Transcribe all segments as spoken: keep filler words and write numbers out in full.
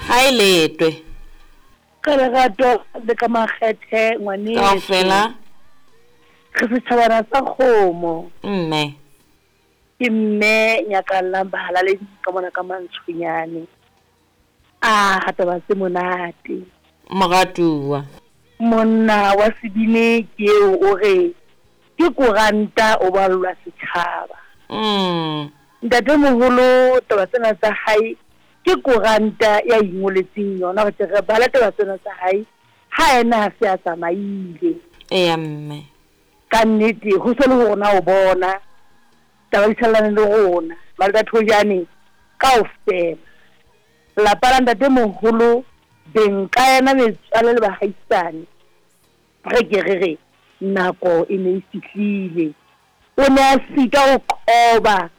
Ha e letwe. Ka lerato le ka makgethe ngwaneso. Kaofela. Re setjhabana sa kgomo. Mme. Ke mme nyakallang bahalaledi ka mona ka mantshonyane. Ah, taba tse monate. Moratuwa. Monna wa sebini ke eo o re ke koranta o ballwa setjhaba. Mm. Ntatemoholo taba tsena tsa hae ke koranta ya ingoletseng yona hore tle re bale taba tsena tsa hae ha ena a se a tsamaile. Eya mme. Ka nnete ho se le ho rona ho bona taba di sallane le rona Maltathojane kaofela. Lapa la ntatemoholo beng ka yena metswalle le bahaisane re ke re re nako e ne e fihlile. O ne a sita ho qoba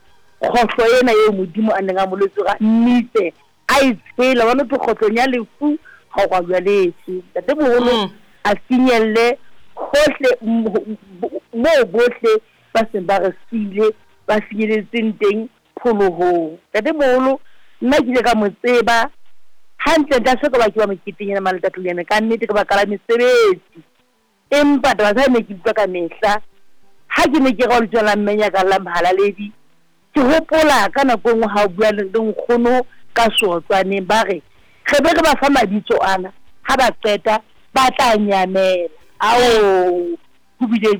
kgohlo ena eo Modimo a neng a moletse hore a mmitse a e tshela hobane ho thwe kgohlong ya lefu ha o robjwa leso. Ntatemoholo Mm. a finyelle hohle moo bohle ba seng ba re siile ba finyelletseng teng pholohong. Ntatemoholo nna ke ile ka mo tseba hantle ntle a soka ba ke ba moketeng ena Maltathonyane ka nnete ka baka la mesebetsi. Empa taba tsa hae ne ke utlwa ka mehla. Ha ke ne ke re lebitso la mme Nyakallang Mohalaledi, ke hopola ka nako e nngwe ha o bua le nkgono ka seotswaneng ba re re be re ba fa mabitso ana ha ba qeta ba tla nyamela. Ao, ho bile